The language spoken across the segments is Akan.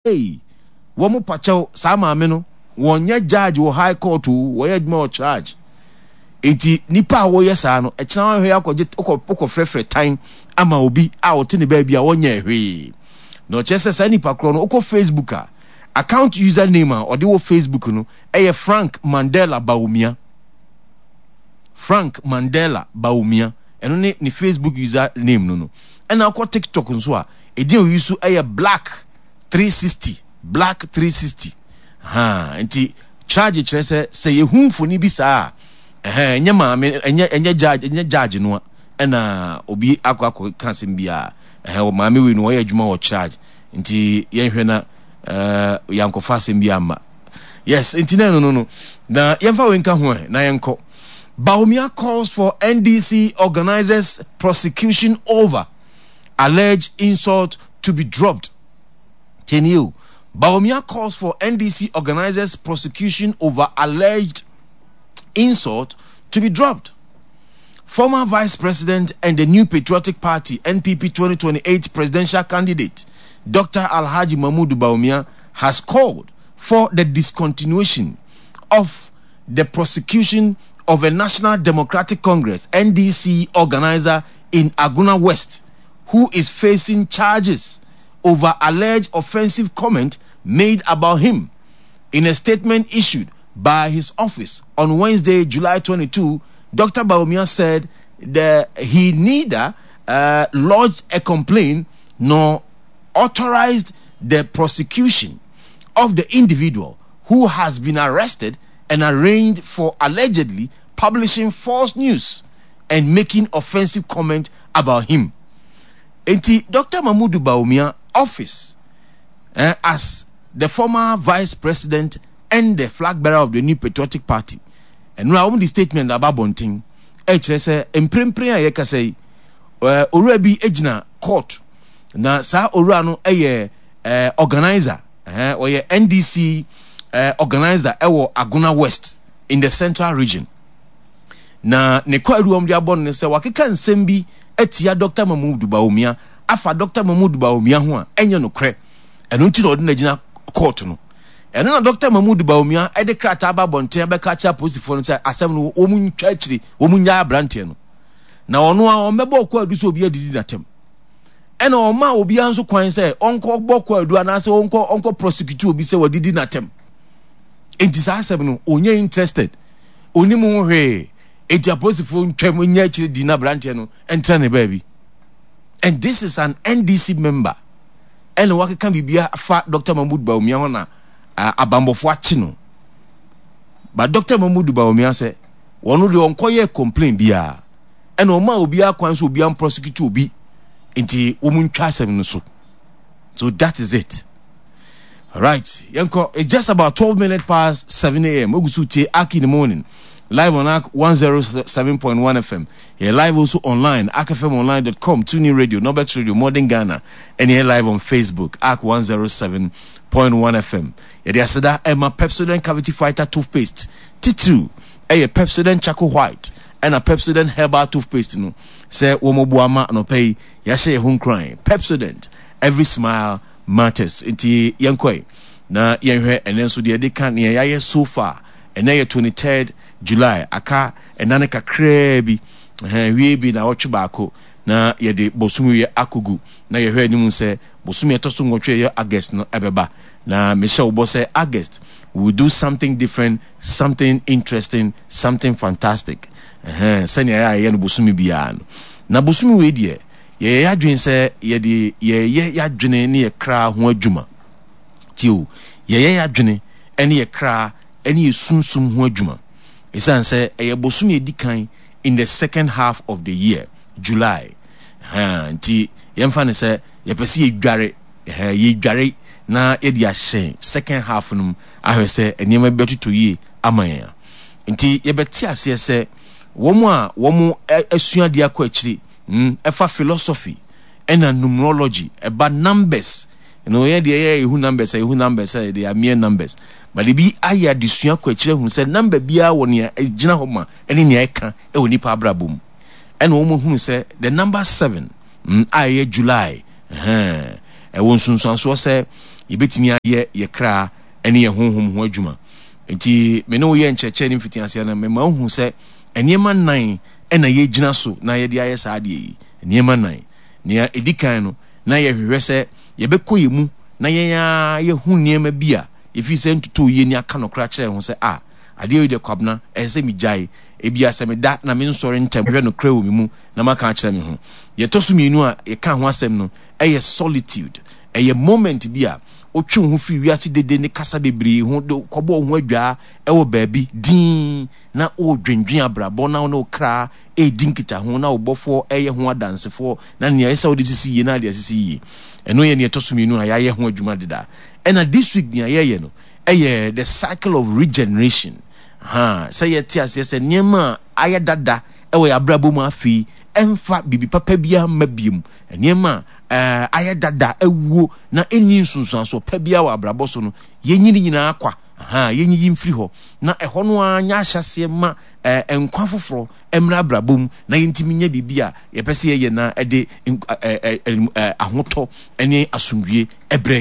Ei wɔn pakyɛw saa maame no wɔnyɛ judge wɔ high court o, wɔyɛ adwuma wɔ charge. Enti nipa a wɔyɛ saa no ɛkyena wɔhwɛ akɔgye wokɔ frɛfrɛ tan ama obi a ɔte ne baabi a wɔnyɛ hwee. Na ɔkyerɛ sɛ saa nipa korɔ no wokɔ Facebook a account user name a ɔde wɔ Facebook no ɛyɛ Frank Mandela Bawumia. Frank Mandela Bawumia ɛno ne ne Facebook user name no no. Ɛna wokɔ TikTok nso a Edin a oyi so yɛ Black 360, Black 360. Ha, nti charge kyerɛ sɛ sɛ yɛhu mfoni bi saa a, ɛhɛn, ɛnyɛ maame, ɛnyɛ ɛnyɛ judge, ɛnyɛ judge no a, ɛna obi akɔ akɔ ka asɛm bi a, ɛhɛn, maame wei no ɔyɛ adwuma wɔ charge. Nti yɛnhwɛ na ɛɛ yɛankɔfa asɛm bi amma. Yes, nti na ɛno no no. Na yɛmfa wei nka ho ɛ, na yɛnkɔ. Bawumia calls for NDC organizers prosecution over alleged insult to be dropped. Tenio. Bawumia calls for NDC organizers prosecution over alleged insult to be dropped. Former Vice President and the New Patriotic Party NPP 2028 presidential candidate, Dr. Alhaji Mahmoud Bawumia, has called for the discontinuation of the prosecution of a National Democratic Congress NDC organizer in Agona West who is facing charges over alleged offensive comment made about him. In a statement issued by his office on Wednesday, July 22, Dr. Bawumia said that he neither lodged a complaint nor authorized the prosecution of the individual who has been arrested and arraigned for allegedly publishing false news and making offensive comment about him. Enti Dr. Mahmoud Bawumia office eh, as the former vice president and the flag bearer of the New Patriotic Party. Ɛno a wɔn de statement aba abɔnten ɛkyerɛ sɛ mprempren a yɛkasa yi eh, owura bi gyina court na saa owura no yɛ eh, organizer eh, ɔyɛ NDC eh, organizer ɛwɔ Agona West in the central region. Na ne kwaadu a wɔde abɔ no ne sɛ wakeka nsɛm bi atia Dɔkta Mahmood Bawumia afa Dɔkta Mahmood Bawumia ho a ɛnyɛ nokorɛ. Ɛno nti na ɔde no agyina kɔɔto no. Ɛno na Dɔkta Mahmood Bawumia de krataa ba abɔnten abɛka akyerɛ apolisifoɔ no sɛ asɛm no wɔn ntwa akyire, wɔn nnyae aberanteɛ no. Na ɔno a ɔmmɛbɔ kwaadu sɛ obi adidi n'atɛm. Ɛna ɔma obiara nso kwan sɛ ɔnkɔ bɔ kwaadu anaasɛ ɔnkɔ ɔnkɔ prosecute obi sɛ wadidi n'atɛm. Enti saa asɛm no ɔnyɛ interested. Onim ho hwee. Enti apolisifoɔ ntwam nyɛ akyire di na aberanteɛ no ntra ne baabi. And this is an NDC member. Ɛna wakeka biribi afa Dr. Mahmoud Bawumia ho na abanbɔfoɔ akye no. But Dr. Mahmoud Bawumia sɛ wɔn deɛ ɔnkɔyɛ complain biara. Ɛna ɔma obiara kwan sɛ obiara prosecute obi. Nti wɔn ntwa asɛm no so. So that is it. Right, yɛnkɔ. It's just about 12 minutes past 7 a.m. Ogu so tie Ark in the morning. Live on Ark 107.1 FM. Yeah, live also online, arkfmonline.com, TuneIn Radio, Norbert Radio, Modern Ghana, and yeah, live on Facebook, Ark 107.1 FM. Yɛde aseda ɛma Pepsodent Cavity Fighter Toothpaste. Titiriw ɛyɛ Pepsodent Charcoal White ɛna Pepsodent Herbal Toothpaste no. Sɛ wɔn boa ma anɔpa yi yɛahyɛ yɛn ho nkuran. Pepsodent, every smile matters. Nti yɛnkɔe na yɛnhwɛ ɛnɛ nso deɛ yɛde ka nea yɛayɛ so far. Ɛnɛ yɛ 23rd July, aka ɛna no kakraa bi, ɛhɛn, wie bi na ɔtwe baako na yɛde bosome wie akɔgu na yɛhwɛ anim sɛ bosome ɛtɔ so nwɔtwe ɛyɛ August no ɛbɛba. Na mehyɛ wo bɔ sɛ August we will do something different, something interesting, something fantastic. Ɛhɛn, sɛnea ɛyɛ a yɛyɛ no bosome biara no. Na bosome wei deɛ Yɛyɛ y'adwene sɛ yɛde yɛyɛ y'adwene ne yɛ kra ho adwuma. Tie o, yɛyɛ y'adwene ne yɛ kra ne yɛ sunsum ho adwuma. Esiane sɛ ɛyɛ bosome a edi kan in the second half of the year, July, ɛhɛn, nti yɛmfa no sɛ yɛpɛ sɛ yɛdware, ɛhɛn, yɛdware na yɛde ahyɛn second half no mu ahwɛ sɛ nneɛma bi bɛtotɔ yie ama yɛn a. Nti yɛbɛte aseɛ sɛ wɔn a wɔn asua adeɛ akɔ akyiri Hmm, ɛfa philosophy ɛna numerology, ɛba numbers. No yɛn deɛ yɛ ehu numbers, ehu numbers, eh, they are mere numbers. But ebi ayɛ adesua kɔ akyire ahunu sɛ number biara wɔ nea egyina hɔ ma ɛne nea ɛka ɛwɔ nipa abrabɔ mu. Ɛna wɔn ahunu sɛ the number seven, a ɛyɛ July, ɛhɛn, ɛwɔ nsunsuansoɔ sɛ yɛbɛtumi ayɛ yɛ kra ne yɛn honhom ho adwuma. Nti me ne wo yɛ nkyerɛkyerɛ ne mfitiaseɛ no, mema wohu sɛ nneɛma nnan na yɛgyina so na yɛde ayɛ saa adeɛ yi. Nneɛma nnan. Nea ɛdi kan no, na yɛhwehwɛ sɛ yɛbɛkɔ yɛn mu na yɛn ara yɛhu nneɛma bi a yɛfiri sɛ ntotoo yie ne aka nokorɛ akyerɛ yɛn ho sɛ, ah, adeɛ wei deɛ Kwabena, ɛsɛ sɛ megyae. Ebia sɛ meda na mensɔre ntɛm hwɛ nokorɛ wɔ me mu na maka akyerɛ me ho. Deɛ ɛtɔ so mmienu a yɛka ho asɛm no yɛ solitude. Ɛyɛ moment bi a wotwe wo ho firi wiase dede ne kasa bebree ho de kɔbɔ wo ho adwaa wɔ baabi dinn na woredwendwen abrabɔ na wo ne wo kra redi nkitaho na wo bɔfoɔ reyɛ ho adansefoɔ na nea ɛsɛ sɛ wode sisi yie na ade asisi yie. Ɛno yɛ nea ɛtɔ so mmienu a yɛayɛ ho adwuma deda. Ɛna this week nea yɛreyɛ no yɛ the cycle of regeneration. Ha, sɛ yɛte aseɛ sɛ nneɛma a ayɛ dada wɔ yɛn abrabɔ mu afei ɛmfa biribi papa biara mma biom. Nneɛma a ayɛ dada, awuo na ɛnni nsunsuansoɔ pa biara wɔ abrabɔ so no, yɛnyi ne nyinaa kwa. Ha, yɛnyiyi mfiri hɔ na ɛhɔ no ara nyɛ ahyɛaseɛ ma nkwa foforɔ mmra abrabɔ mu na yɛntumi nyɛ biribi a yɛpɛ sɛ yɛyɛ na ɛde ahotɔ ne asomdwie brɛ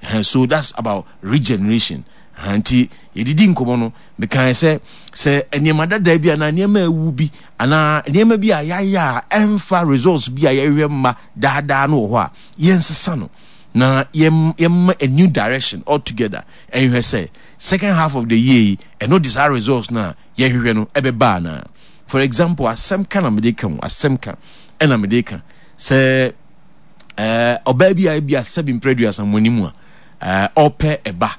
yɛn. So that's about regeneration. Nti yɛdidi nkɔmmɔ no, mekae sɛ sɛ nneɛma dada bi anaa nneɛma awu bi anaa nneɛma bi a yɛayɛ a ɛmfa results bi a yɛhwehwɛ mma daadaa no wɔ hɔ a, yɛnsesa no na yɛmma a new direction altogether ɛnhwɛ sɛ second half of the year yi ɛno de saa results no a yɛhwehwɛ no ɛbɛba anaa. For example, asɛm ka na mede ka o, asɛm ka ɛna mede ka sɛ ɛɛ ɔbaa bi a ebi a sɛbi mpere aduasa mo anim a ɛɛ ɔpɛ ɛba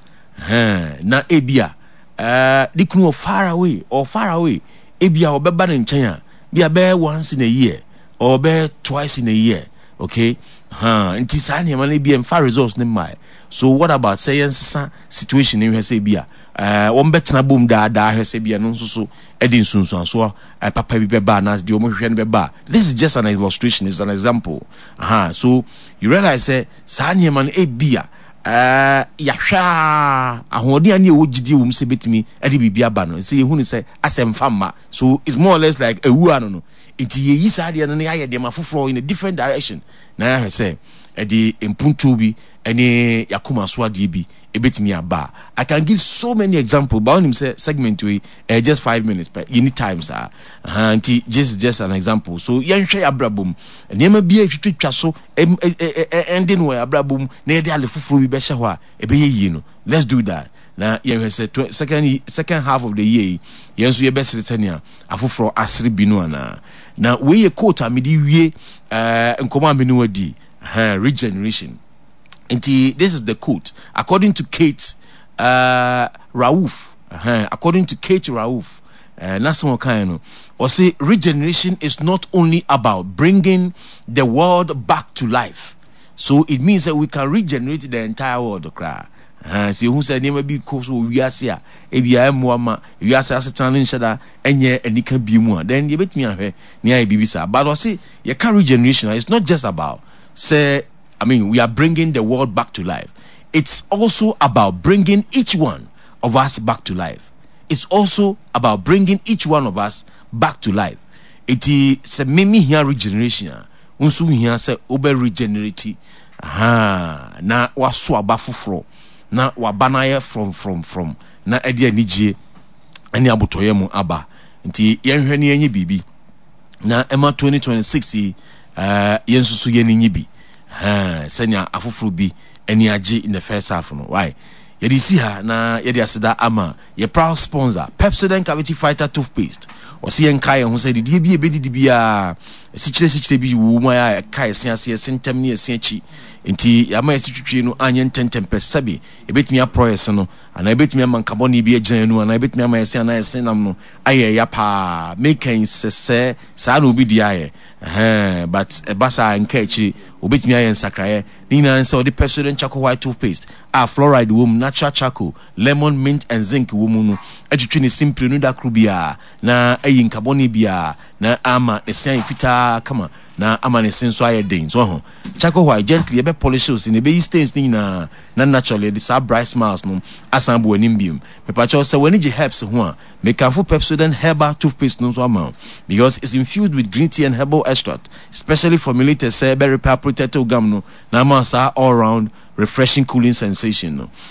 ɛhɛn na ebi a ɛɛ ne kunu wɔ far away or far away ebi a ɔbɛba ne nkyɛn a bi a bɛyɛ once in a year or bɛyɛ twice in a year okay hàn nti saa nneɛma no ebi a nfa results ne mmaa so what about sɛ yɛn sesa situation ne hwɛ sɛ ebi a ɛɛ wɔn bɛtena bom daadaa hwɛ sɛ ebi a no nso so ɛde nsunsuansoɔ papa bi bɛba anaasɛ deɛ wɔhwehwɛ no bɛba. This is just an illustration, it's an example. Aha, so you realize sɛ saa nneɛma no ebi a ɛɛ yɛahwɛ a ahoɔden a ne ɛwɔ gyidie wɔ mu sɛ bɛtumi ɛde biribi aba no sɛ yɛhu no sɛ asɛ mfa mma so it's more or less like ewu ano no nti yɛyi saa deɛ no na yɛayɛ deɛma foforɔ in a different direction na yɛahwɛ sɛ ɛde mpuntuo bi ɛne yɛakoma so adeɛ bi ɛbɛtumi aba a I can give so many example but wonim sɛ segment wei ɛyɛ just 5 minutes pɛ, yɛni time saa. Aha, nti this is just an example. So yɛnhwɛ yɛ abrabɔ mu nneɛma bi a ɛtwitwatwa so ɛnde no wɔ yɛ abrabɔ mu na yɛde ade foforɔ bi bɛhyɛ hɔ a ɛbɛyɛ yie no. Let's do that na yɛhwɛ sɛ second half of the year yi yɛn nso yɛbɛsere sɛnea afoforɔ asere bi no anaa. Na wei yɛ quote a mede wie nkɔmmɔ a me ne wadi, regeneration. Nti this is the quote according to Kate Rauf. According to Kate Rauf, n'asɛm ɔkae no, ɔse regeneration is not only about bringing the world back to life. So it means that we can regenerate the entire world koraa. Sɛ ehu sɛ nneɛma bi kɔ so wɔ wiase a ebi a ɛmmoa ma wiase asetena no nhyɛ da ɛnyɛ anika bi mu a, then yɛbɛtumi ahwɛ nea ayɛ biribi saa. But ɔse yɛka regeneration a, it's not just about sɛ, I mean, we are bringing the world back to life. It's also about bringing each one of us back to life. It's also about bringing each one of us back to life. Eti sɛ me me hia regeneration a, wo nso hia sɛ wobɛ regenerate. Aha, na waso aba foforɔ na waba no ayɛ frɔmfrɔmfrɔm na ɛde anigye ne abotɔyɛ mu aba. Nti yɛnhwɛ ne yɛnyɛ biribi na ɛma 2026 yi yɛn nso so yɛn ani nye bi sɛnea afoforɔ bi ani agye in the first half no. Why yɛde si ha na yɛde aseda ama yɛ proud sponsor, Pepsodent Cavity Fighter toothpaste. Ɔsi yɛn nka yɛn ho sɛ didie bi ebedidi biara esikyire sikyire bi wɔ mu a ɛka yɛse ase, yɛse ntɛm ne yɛse akyi, nti yɛama yɛse twitwie no anyɛ ntɛntɛm pɛ sɛbi ebetumi aporɔ yɛse no anaa ebetumi ama nkabɔne bi agyina yɛn anum anaa ebetumi ama yɛse anaa yɛse nam no ayɛ ɛya paa. Meka yi sɛ sɛ saa na obi di ayɛ ɛhɛn, but ɛba saa nka akyiri obetumi ayɛ nsakraeɛ. Ne nyinaa ne sɛ ɔde Pepsodent Charcoal White Toothpaste a fluoride wɔ mu, natural charcoal, lemon, mint and zinc wɔ mu no atwitwi ne se mprenu da koro biara na ayi nkabɔne biara na ama ne se ayɛ fitaa kama na ama ne se nso ayɛ den. So ho charcoal white gently ɛbɛ polish wo se na ɛbɛyi stains ne nyinaa. Na naturally ɛde saa bright smiles no asan abɔ w'anim biom. Mepakyɛw sɛ w'ani gye herbs ho a, mekamfo Pepsodent Herbal Toothpaste no nso ama wo because it's infused with green tea and herbal extract specially formulated sɛ ɛbɛ repair protect wo gum no na ama saa all round refreshing cooling sensation no.